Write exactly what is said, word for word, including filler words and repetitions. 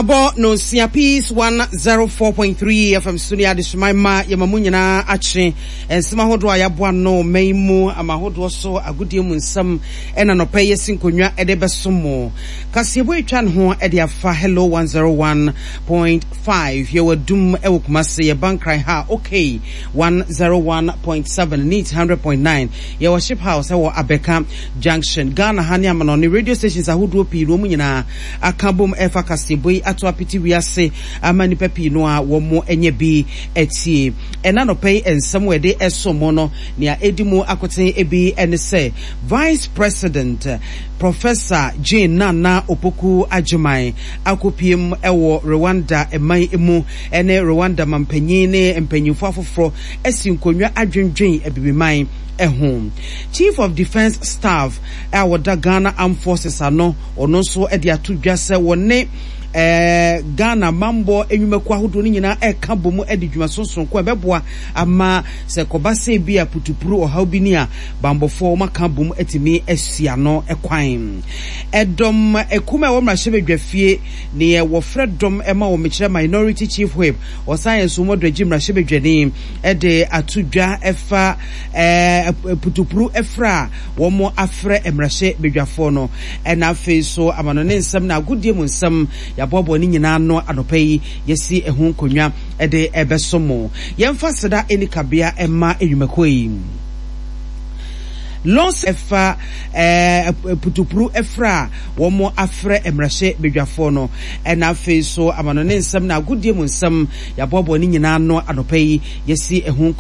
Abɔ nonsia, Peace one zero four point three F M so ne adehyeman ma yɛma mu nyinaa akye. Nsɛm ahodoɔ a yɛaboa no man mu ama ahodoɔ so, agodie mu nsɛm ɛna nɔpɛ yɛsi nkonnwa ɛde bɛso mo. Kaseɛbɔ etwa ne ho ɛde afa Hello one zero one point five. Yɛwɔ Dum ɛwɔ Kumase, yɛba Nkran ha okay one zero one point seven, Neat one hundred point nine. Yɛwɔ Ship House ɛwɔ Abɛka Junction. Ghana ha ne amanɔne radio stations ahodoɔ pii no, wɔn nyinaa aka bom ɛfa kaseɛbɔ yi ato apete wiase ama nipa pii no a wɔn anya bi atie. Ɛna nɔpɛ yi nsɛm a yɛde ɛso mo no, nea edi mu akoten ebi ɛne sɛ Vice President Professor Jane Nana Opoku Agyeman akɔpiem ɛwɔ Rwanda man mu, ɛne Rwanda mampanyin ne mpanyinfo afoforɔ asi nkonnwa adwendwen abibiman ɛho. Chief of Defence Staff a wɔda Ghana Armed Forces ano, ɔno nso de ato dwa sɛ wɔne ɛɛ Ghana mambɔ nnwumakuo ahodoɔ no nyinaa ɛreka bɔ mu de dwuma sonsonko a ɛbɛboa ama sɛ kɔba sɛ bi a putupuru ɔhaw bi ni a, bambɔfoɔ wɔn aka bɔ mu atumi asi ano kwan. Ɛdɔm ekum a ɛwɔ mmarahyɛbadwa fie, neɛ wɔfrɛ dɔm ɛma wɔn mekyerɛ Minority Chief Whip, ɔsan yɛ nso wɔn agye mmarahyɛbadwani, ɛde ato dwa ɛfa ɛɛ putupuru ɛfrɛ a wɔn afrɛ mmarahyɛbadwafoɔ no. Ɛna afei so amano ne nsɛm na agodie mu nsɛm, yɛaboaboa ne nyinaa no anɔpa yi, yɛsi ɛho nkonnwa ɛde ɛbɛso mo. Yɛmfa seda ɛni kabea ɛma nnwumakuo yi lɔs ɛfa ɛɛ putupuru ɛfrɛ a wɔn afrɛ mmarahyɛbadwafoɔ no. Ɛna afei so amano ne nsɛm na agodie mu nsɛm, yɛaboaboa ne nyinaa no anɔpa yi, yɛsi ɛho.